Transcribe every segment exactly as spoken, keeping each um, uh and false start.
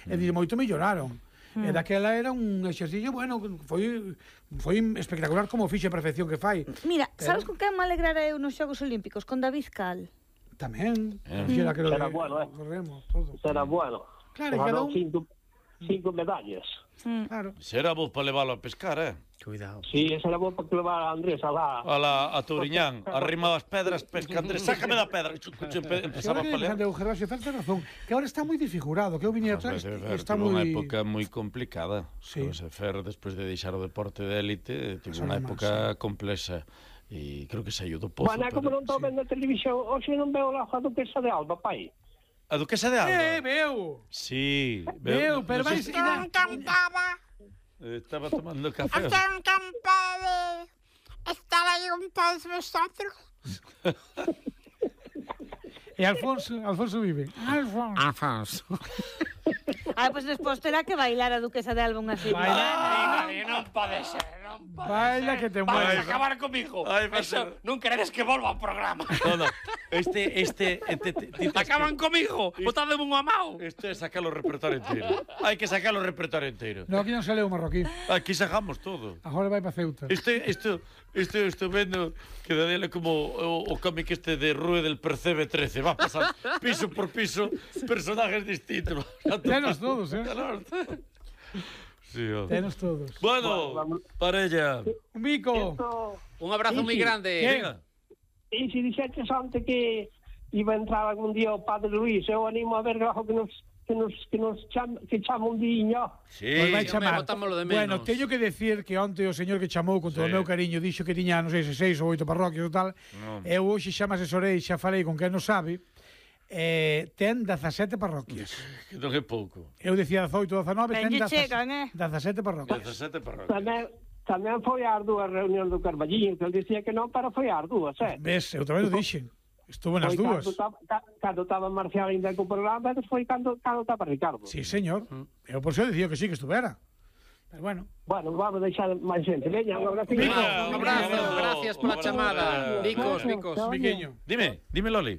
E de moito melloraron. E daquela era un exercicio, bueno, foi foi espectacular como fixe a perfección que fai. Mira, sabes con quen me alegrara eu nos Xogos Olímpicos? Con David Cal. Tamén. Fixera que lo Será bueno, eh. Corremos, todo. Será bueno. Claro, cada un... cinco, cinco medallas. Mm. Claro. Será vos para leválo a pescar, eh? Cuidado. Sí, esa era boa para que levar a Andrés a lá. A la a Touriñán, arrima das pedras, pesca Andrés, sácame da pedra. Empezaba a pelear. O Gervasio Fer ten razón, que ahora está moi desfigurado, que eu viña atrás, está moi... Unha época moi complicada. Sí. José Fer, despois de deixar o deporte de élite, tivo unha época complexa. E creo que saiu do pozo. Bueno, como non estou vendo a televisión, hoxe non veo lá a duquesa de Alba, pai. A duquesa de Alba? Eh, veu! Sí. Veu, pero vais... Estou encantada. Estaba tomando café. Estou encantada de estar aí con todos vosotros. E Alfonso, Alfonso vive. Alfonso. Afonso. Ah, pois pues despois terá que bailar a duquesa de Alba unha así. Baila, Non pode ser, non pode baila que te Vas mueres. a acabar comigo. Ai, vai Eso, ser- non queredes que volva ao programa. No, no. Este, este... este te- te- Acaban comigo. Botádeme un amao. Isto é sacar o repertorio inteiro. Hai que sacar o repertorio inteiro. No, aquí non sale o marroquí. Aquí sacamos todo. Agora vai para Ceuta. Isto, isto, isto estou vendo que Daniel é como o, o cómic este de Rue del Percebe trece. Va a pasar piso por piso, personajes distintos. Tenos todos, eh? Sí, oh. Tenos todos. Bueno, parella. Un bico. Esto... Un abrazo moi grande. Venga. E se dixetes antes que iba a entrar algún día o Padre Luís, eu animo a ver algo que nos que nos que nos chama, que chama un diño. Sí. Pois vai home, chamar. botámolo de menos. Bueno, teño que decir que onte o señor que chamou con todo o Sí. meu cariño dixo que tiña, non sei se seis ou oito parroquias ou tal. No. Eu hoxe xa me asesorei, xa falei con quen non sabe. Eh, ten dezasete parroquias. Que non é pouco. Eu dicía dezoito, dezanove, ten Ben lle dezasete chegan, eh? dezasete parroquias. dezasete parroquias. Tamén tamén foi ás dúas reunións do Carballiño, que ele dicía que non, pero foi ás dúas, eh? Ves, eu tamén o dixen. Estuvo nas Foi dúas. Cando taba, ca- cando estaba Marcial ainda co programa, e foi cando cando estaba Ricardo. Sí, señor. Eu por eso dicía que sí, que estuvera. Pero bueno. Bueno, vamos deixar máis xente. Veña, un abrazo. Venga, Un abrazo, abrazo. gracias pola Un chamada. abrazo. Bicos, bicos. Miqueño. Dime, dime Loli.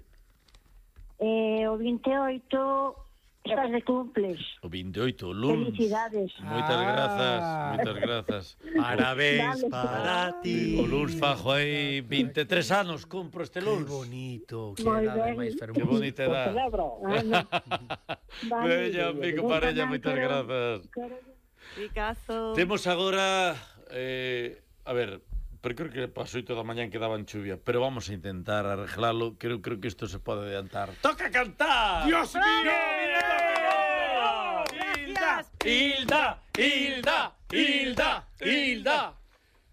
Eh, o vinte e oito estás de cumples. O vinte e oito, o luns. Felicidades. Moitas Ah. grazas, moitas grazas. Parabéns Dale, para ti. O luns fajo aí vinte e tres anos, compro este Que luns. bonito, que Moi edade ben. máis Que fermosa. bonita edad. Celebro. Ah, no. Vale. Veña, amigo parella, moitas grazas. Picazo. Temos agora eh, a ver, pero creo que para as oito da mañán quedaban chuvia, pero vamos a intentar arreglalo. Creo creo que isto se pode adiantar. Toca cantar. Dios mío, Gracias. Hilda, Hilda, Hilda, Hilda.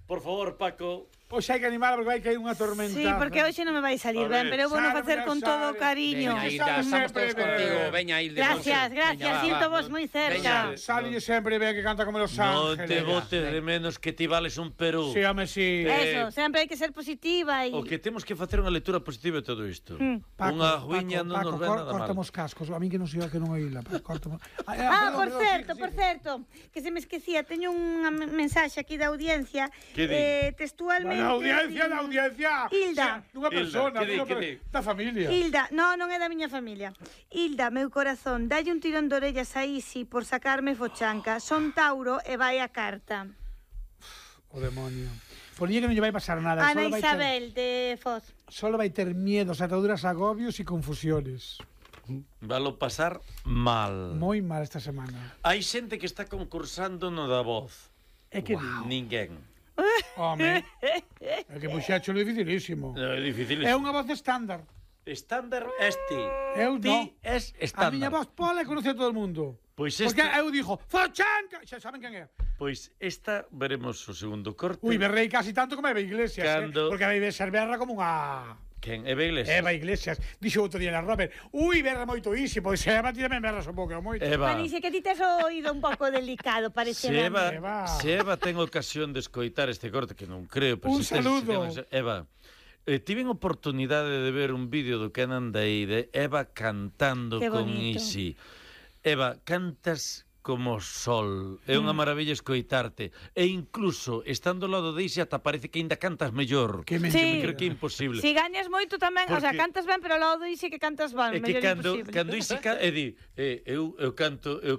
Por favor, Paco. Pois hai que animar porque vai caer unha tormenta. Sí, porque hoxe non me vai salir A ver, ben, pero eu vou no sale, facer mira, con sale. todo o cariño. Veña, que Hilda, sabe estamos sempre todos contigo. ben. Veña, Hilda. Gracias, Veña, gracias, va, siento va. vos moi cerca. Veña. Sale sempre ben que canta como Los Non Ángeles. te botes de menos que ti vales un Perú. Sí, home, sí. Eso, sempre hai que ser positiva e... O que temos que facer unha lectura positiva de todo isto. Mm. Unha ruiña non nos ven cor- nada mal. Cortamos cascos. A mí que non sei que non oíla. Cortamos. Ah, por certo, por certo, que se me esquecía, teño unha me- mensaxe aquí da audiencia. Que di? Eh, textualmente... Na audiencia, di- na audiencia. Hilda. Unha persona, que di, unha que per- di? da familia. Hilda, no, non é da miña familia. Hilda, meu corazón, dalle un tirón de orellas a Isi por sacarme fochanca. Son Tauro e vai a carta. O demonio. Ponía que non lle vai pasar nada. Ana solo vai ter- Isabel, de Foz. Solo vai ter miedos, ataduras, agobios e confusiones. Valo pasar mal. Moi mal esta semana. Hai xente que está concursando no da voz. É que Ninguén. home, é que puxacho é dificilísimo. É difícil. É unha voz estándar. Estándar este. Eu Ti non. es A estándar. miña voz pola e conoce a todo o mundo. Pois Porque esta, eu dixo, Fochanca! Xa saben quen é. pois esta veremos o segundo corte. Ui, berrei casi tanto como Eva Iglesias, Cando- eh? Porque a Eva ser berra como unha... Quen? Eva Iglesias? Eva Iglesias. Dixo outro día na Robert, ui, berra moito isi, pois Eva tírame berras un pouco moito. Eva. Manixe, que ti tes o oído un pouco delicado, parece. Se Eva, Eva. se Eva ten ocasión de escoitar este corte, que non creo, pero Un se tes- saludo. se ten- Eva, eh, tiven oportunidade de ver un vídeo do Canan Day de Eva cantando Qué con bonito. Isi. Eva, cantas como sol. É unha maravilla escoitarte. E incluso, estando ao lado de Isi, ata parece que ainda cantas mellor. Que Sí. Eu creo que é imposible. Si gañas moito tamén, o sea, Porque- cantas ben, pero ao lado dixe que cantas ben, É que mellor cando, imposible. cando Isi ca... e di, eh, eu, eu canto, eu